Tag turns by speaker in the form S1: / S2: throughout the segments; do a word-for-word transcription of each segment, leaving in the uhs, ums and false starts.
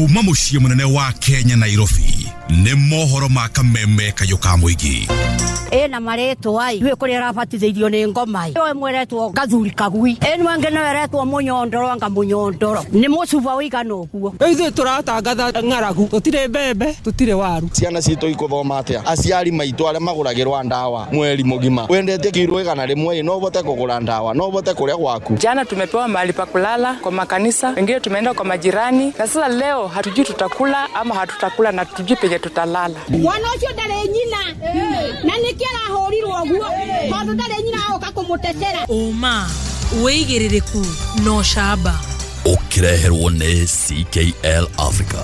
S1: Kuma mũciĩ mũnene wa Kenya Nairobi nĩ mohoro ma kameme kayũ ka mũingĩ.
S2: Ĩna marĩtwa ai gwĩ kũrĩa arabatithĩirio nĩ ngoma ĩ mweretwo gathuri kagui ĩno angĩ no eretwo mũnyondoro anga mũnyondoro nĩ mũcuba ũigana ũguo.
S3: Ithuĩ tũratangatha ng'aragu, tũtirĩ mbembe, tũtirĩ waru.
S4: Ciana citũ ikuthoma atĩa? Aciari maitũ arĩa magũragĩrwa ndawa mweri mũgima, wendete kiro igana rĩmwe no ũhote kũgũra ndawa, no ũhote kũrĩa gwaku.
S5: Jana tumepewa mahali pa kulala kwa makanisa, wengine tumeenda kwa majirani, na sasa leo hatujui tutakula ama hatutakula na hatujui penye tutalala.
S6: Mwana ũcio ndarĩ nyina na nĩkĩ arahũrirwo ũguo tondũ ndarĩ nyina agoka kũmũtetera.
S7: Ũma wĩigĩrĩrĩku no camba
S1: ũkĩreherwo nĩ C K L Africa.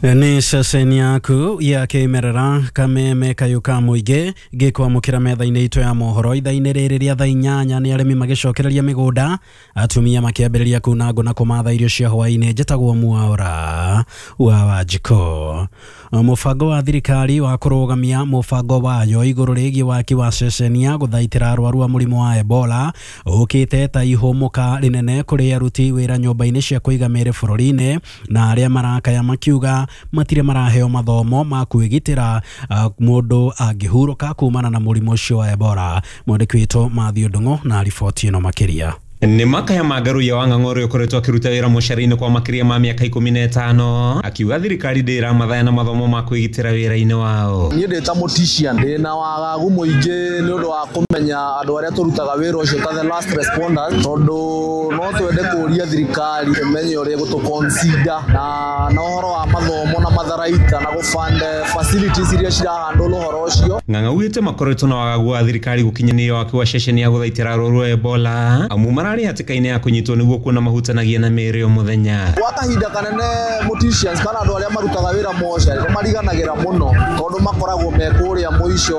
S8: Nĩ ceceni yaku ya kĩmerera kameme kayũ ka mũingĩ gĩkwamũkĩra metha-inĩ itũ ya mohoro ithaa-inĩ rĩrĩ rĩa thaa inyanya. Nĩ arĩmi magĩcokereria mĩgũnda, atumia makĩambĩrĩria kuna ngũ na kũmatha irio cia hwaĩ-inĩ. Njĩtagwo Mwaura wa Wanjikũ. Mũbango wa thirikari wa kũrũgamia mũbango wayo igũrũ rĩgiĩ waki wa ceceni ya gũthaitĩra arwaru a mũrimũ wa Ebola ũkĩte ta ihũmũka rĩnene kũrĩ aruti wĩra nyũmba-inĩ cia kũiga mĩĩrĩ bũrũri-inĩ na arĩa marakaya makiuga matirĩ maraheo mathomo ma kwĩgitĩra uh, mũndũ angĩhurũka kumana na mũrimũ ũcio wa Ebola. Mwandĩki witũ Matthew Ndung'u na riboti ĩno makĩria.
S9: Nĩ makaya ma Ngaruiya wa Ng'ang'a ũrĩa ũkoretwo akĩruta wĩra mũcara-inĩ kwa makĩria ma mĩaka ikũmi na ĩtano akiuga thirikari ndĩramathaya na mathomo ma kwĩgitĩra wĩra-inĩ wao.
S10: Niĩ ndĩ ta mortician ndĩ na wagagu mũingĩ nĩ ũndũ wa kũmenya andũ arĩa tũrutaga wĩra ũcio ta the last responders, tondũ no twende kũria thirikari ĩmenye ũrĩa ĩgũtũ-consider na na ũhoro wa mathomo na matharaita na gũ-fund facilities iria cirahandle ũhoro ũcio.
S9: Ng'ang'a augĩte makoretwo na wagagu wa thirikari gũkinyanĩria waki wa ceceni ya gũthaitĩra arwaru a Ebola amu mararĩ hatĩka-inĩ ya kũnyitwo nĩguo kuona mahutanagia na mĩĩrĩ o mũthenya.
S10: Gwa kahinda kanene morticians kana andũ arĩa marutaga wĩra mocarĩ nĩ mariganagĩra mũno tondũ makoragwo me kũrĩa mũico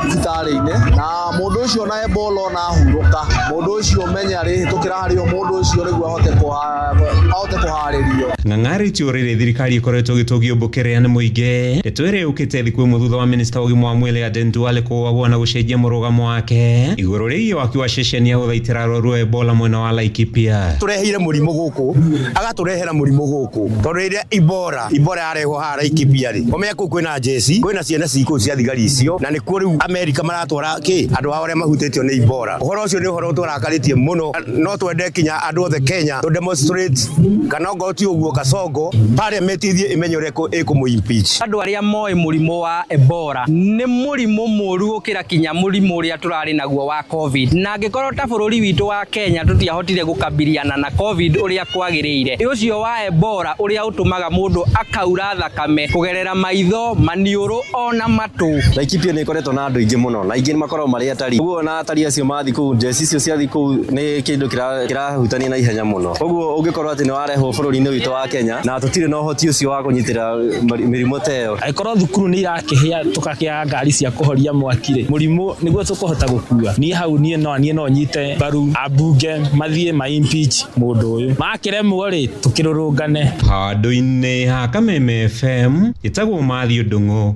S10: thibitarĩ-inĩ, na mũndũ ũcio na Ebola ona ahurũka mũndũ ũcio menye arĩhĩtũkĩra harĩ o mũndũ ũcio nĩguo ahote ahote kũharĩrio.
S9: Ng'ang'a arĩtie ũrĩrĩ thirikari ĩkoretwo ĩgĩtũgio mbũkĩrĩa nĩ mũingĩ ndeto ĩrĩa yũkĩte thikũ ĩmwe thutha wa minista wa ũgima wa mwĩrĩ Aden Duale kũũagwo na gũcenjia mũrũgamo wake igũrũ rĩgiĩ waki wa ceceni ya gũthaitĩra arwaru a Ebola mwena wa Laikipia.
S11: Tureheire mũrimũ gũkũ agatũrehera mũrimũ gũkũ tondũ rĩrĩa Ebola Ebola yarehwo haha Laikipia rĩ ũmenye kũu kwĩna jeci kwĩna ciana cikũu cia thigari icio na nĩkuo rĩu Amerika maratwara kĩ andũ ao arĩa mahutĩtio nĩ Ebola. Ũhoro ũcio nĩ ũhoro ũtũrakarĩtie mũno, no twende kinya andũ othe Kenya tũ demonstrate kana ongorwo ti ũguo Kasongo parliament ithiĩ ĩmenye ũrĩa ĩkũmũ impeach.
S12: Andũ arĩa moĩ mũrimũ wa Ebola nĩ mũrimũ mũru gũkĩra kinya mũrimũ ũrĩa tũrarĩ naguo wa Covid, na angĩkorwo ta bũrũri witũ wa Kenya tũtiahotire gũkabiliana na Covid ũrĩa kwagĩrĩire, ũcio wa Ebola ũrĩa ũtũmaga mũndũ akaura thakame kũgerera maitho, maniũrũ ona matũ.
S13: Laikipia nĩ ĩkoretwo na andũ aingĩ mũno na aingĩ nĩ makoragwo marĩ atari, ũguo na atari acio mathiĩ kũu njeci icio ciathiĩ kũu nĩ kĩndũ kĩrahutania na ihenya mũno, ũguo ũngĩkorwo atĩ nĩ warehwo bũrũri-inĩ witũ wa Kenya na tũtirĩ na ũhoti ũcio wa kũnyitĩra mĩrimũ ta ĩyo.
S14: Angĩkorwo thukuru nĩ irakĩhĩa tũkakĩaga ngari cia kũhoria mwaki rĩ, mũrimũ nĩguo tũkũhota gũkua. Niĩ hau niĩ no niĩ no nyite mbaru ambunge mathiĩ ma impeach mũndũ ũyũ, makĩremwo rĩ tũkĩrũrũngane.
S9: Handũ-inĩ ha Kameme F M ĩtagwo Matthew Ndung'u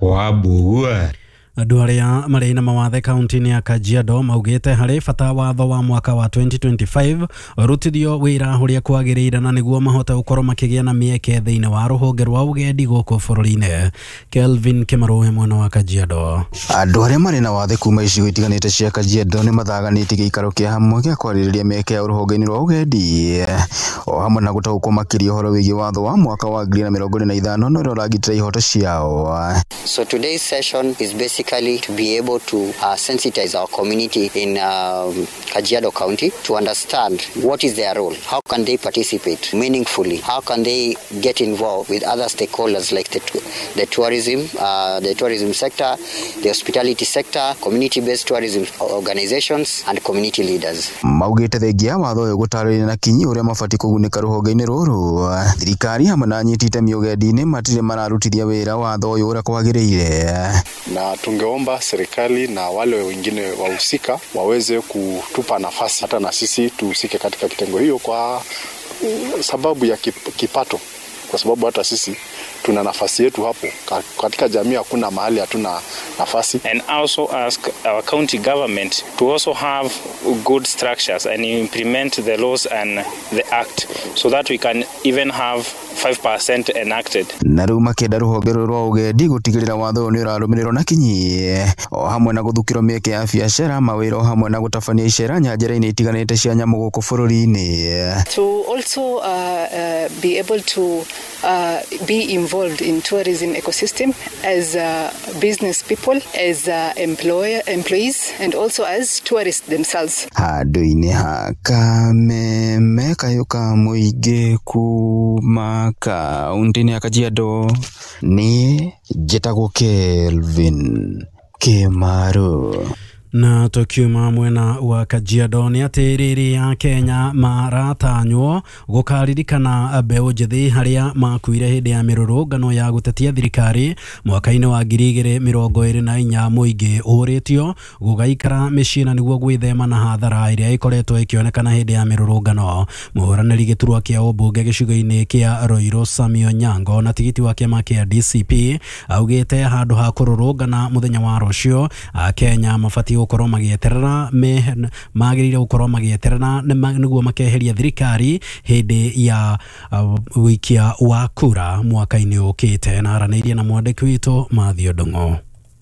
S9: wa Mbugua.
S8: Andũ arĩa marĩ na mawathe kaunti-inĩ ya Kajiado maugĩte harĩ bata watho wa mwaka wa twenty twenty-five ũrutithio wĩra ũrĩa kwagĩrĩire na nĩguo mahote gũkorwo makĩgĩa na mĩeke thĩinĩ wa rũhonge rwa ũgendi gũkũ bũrũri-inĩ. Kelvin Kĩmarũhe mwena wa Kajiado.
S15: Andũ arĩa marĩ na wathe kuma icigo itiganĩte cia Kajiado nĩ mathaganĩtie gĩikaro kĩa hamwe gĩa kwarĩrĩria mĩeke ya rũhonge-inĩ rwa ũgendi o hamwe na gũtaũkwo makĩria ũhoro wĩgiĩ watho wa mwaka wa ngiri na mĩrongo ĩrĩ na ithano na ũrĩa ũragitĩra ihoto ciao.
S16: So today's session is basically to be able to uh, sensitize our community in um, Kajiado County to understand what is their role, how can they participate meaningfully, how can they get involved with other stakeholders like the, the tourism, uh, the tourism sector, the hospitality sector, community-based tourism organizations and community leaders.
S15: Maugĩte thengia watho ũyũ gũtarĩria na kinyi ũrĩa mabatiĩ kũgunĩka rũhonge-inĩ rũrũ, thirikari hamwe na anyiti itemi ũgendi-inĩ matirĩ mararutithia wĩra watho ũyũ ũrĩa kwagĩrĩire.
S17: Na tungeomba serikali na wale wengine wahusika waweze kutupa nafasi hata na sisi tuhusike katika kitengo hiyo kwa sababu ya kipato, kwa sababu hata sisi Tuna nafasi yetu hapo katika jamii, hakuna mahali hatuna nafasi.
S18: And also ask our county government to also have good structures and implement the laws and the act so that we can even have five percent enacted.
S15: Na rĩu makĩenda rũhonge rũrũ rwa ũgendi gũtigĩrĩra watho ũyũ nĩ ũrarũmĩrĩrwo na kinyi o hamwe na gũthukĩrwo mĩeke ya biacara, mawĩra o hamwe na gũtabania icera nyanjara-inĩ itiganĩte cia nyamũ gũkũ bũrũri-inĩ.
S19: To also uh, uh, be able to uh, be involved in tourism ecosystem as uh, business people, as uh, employer, employees and also as tourists themselves.
S15: Handũ-inĩ ha Kameme kayũ ka mũingĩ kuma kaunti-inĩ ya Kajiado, niĩ njĩtagwo Kelvin Kimaru.
S8: Na tukiuma mwena wa Kajiado nĩ atĩ rĩrĩ ya Kenya maratanywo gũkaririkana mbeũ njĩthĩ harĩa makuire hĩndĩ ya mĩrũrũngano ya gũtetia thirikari mwaka-inĩ wa ngiri igĩrĩ mĩrongo ĩrĩ na inya. Mũingĩ ũrĩtio gũgaikara mĩciĩ na nĩguo gwĩthema na hathara ĩrĩa ĩkoretwo ĩkĩonekana hĩndĩ ya mĩrũrũngano. Mũhũranĩri gĩturwa kĩa ũmbunge gĩcigo-inĩ kĩa Ruiru Samuel Nyango na tigiti wa kĩama kĩa D C P augĩte handũ ha kũrũrũngana mũthenya wa rũciũ Akenya mabatiĩ gũkorwo magĩeterera magĩrĩire gũkorwo magĩeterera nĩguo makeheria thirikari hĩndĩ ya wĩikia wa kura mwaka-inĩ ũkĩte. Na aranĩirie na mwandĩki witũ Mathew Ndung'u.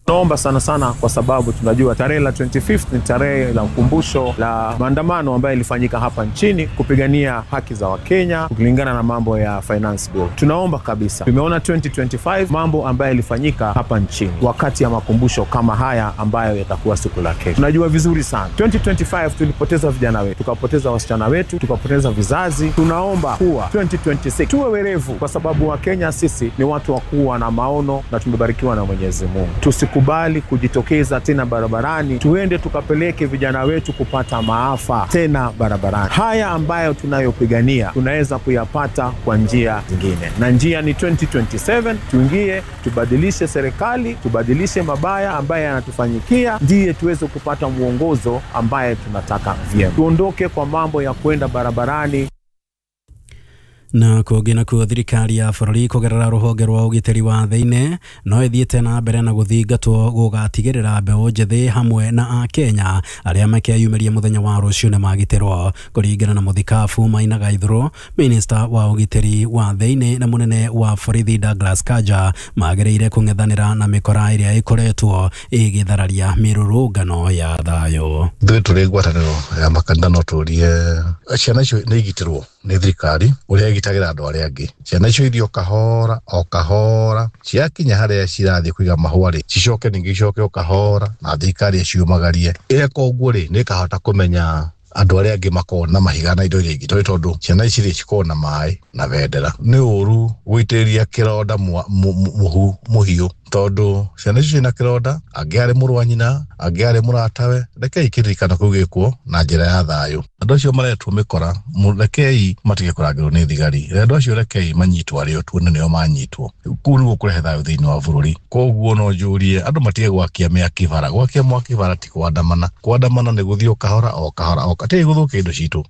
S20: Naomba sana sana kwa sababu tunajua tarehe la twenty-fifth ni tarehe la ukumbusho la maandamano ambayo ilifanyika hapa nchini kupigania haki za Wakenya kulingana na mambo ya finance bill. Tunaomba kabisa, tumeona twenty twenty-five mambo ambayo ilifanyika hapa nchini wakati ya makumbusho kama haya ambayo yatakuwa siku la kesho. Tunajua vizuri sana twenty twenty-five tulipoteza vijana wetu, tukapoteza wasichana wetu, tukapoteza vizazi. Tunaomba kuwa twenty twenty-six tuwe werevu, kwa sababu Wakenya sisi ni watu wa kuwa na maono na tumebarikiwa na Mwenyezi Mungu. Tusikubali kujitokeza tena barabarani, tuende tukapeleke vijana wetu kupata maafa tena barabarani. Haya ambayo tunayopigania tunaweza kuyapata kwa njia zingine, na njia ni twenty twenty-seven. Tuingie, tubadilishe serikali, tubadilishe mabaya ambayo yanatufanyikia, ndiye tuweze kupata muongozo ambaye tunataka vyema. Tuondoke kwa mambo ya kwenda barabarani.
S8: Na kũngĩ nakuo thirikari ya bũrũri kũgerera rũhonge rwa ũgitĩri wa thĩinĩ no ĩthiĩte na mbere na gũthingatwo gũgatigĩrĩra mbeũ njĩthĩ hamwe na akenya arĩa makeyumĩria mũthenya wa rũciũ nĩ magitĩrwo. Kũringana na mũthikabu Maina Gaithũrũ, minista wa ũgitĩri wa thĩinĩ na mũnene wa borithi Douglas Kanja magĩrĩire kũng'ethanĩra na mĩkora ĩrĩa ĩkoretwo ĩgĩthararia mĩrũrũngano ya thayũ.
S21: Ithuĩ tũrĩ ngwatanĩro ya makanitha no tũrie ciana icio nĩ igitĩrwo nĩ thirikari ũrĩa ĩgitagĩra andũ arĩa angĩ. Ciana icio ithiĩ o kahora o kahora, ciakinya harĩa cirathiĩ kũiga mahũa rĩ, cicoke ningĩ icoke o kahora na thirikari ĩciumagarie. Ĩreka ũguo rĩ, nĩ ĩkahota kũmenya andũ arĩa angĩ makoragwo na mahiga na indo iria ingĩ, tondũ tondũ ciana ici rĩ cikoragwo na maĩ na bendera. Nĩ ũru gũitĩrĩria kĩronda mũhu mũhiũ, tondũ ciana icio ciĩna kĩronda, angĩ arĩ mũrũ wa nyina, angĩ arĩ mũratawe. Rekei kĩririkano kĩu gĩkwo na njĩra ya thayũ. Andũ acio maretwo mĩkora, rekei matige kũrangĩrwo nĩ thigari. Andũ acio rekei manyitwo arĩo, tuone nĩo manyitwo. Kũu nĩguo kũrehe thayũ thĩinĩ wa bũrũri. Koguo no njũrie andũ matige gwakia mĩaki bara. Gwakia mwaki bara ti kũandamana. Kũandamana nĩ gũthiĩ o kahora o kahora o kahora, gũthũkia indo citũ.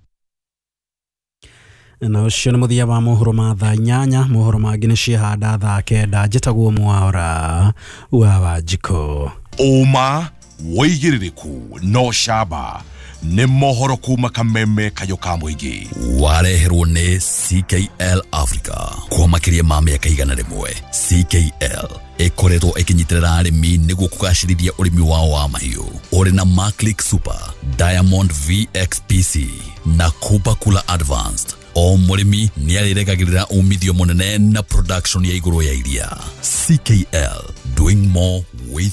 S8: Na ũcio nĩ mũthia wa mohoro ma thaa inyanya. Mohoro mangĩ nĩ ciehanda thaa kenda. Njĩtagwo Mwaura wa Wanjikũ.
S1: Ũma wĩigĩrĩrĩku no camba nĩ mohoro kuma Kameme kayũ ka mũingĩ.
S22: Wareherwo nĩ C K L Africa kwa makĩria ma mĩaka igana rĩmwe. C K L ĩkoretwo ĩkĩnyitĩrĩra arĩmi nĩguo kũgacĩrithia ũrĩmi wao wa mahiũ. Ũrĩ na Maclick Super, Diamond V X P C na Kupa Kula Advanced. O mũrĩmi nĩarĩrekagĩrĩra umithio mũnene na production ya igũrũ ya iria. C K L, doing more with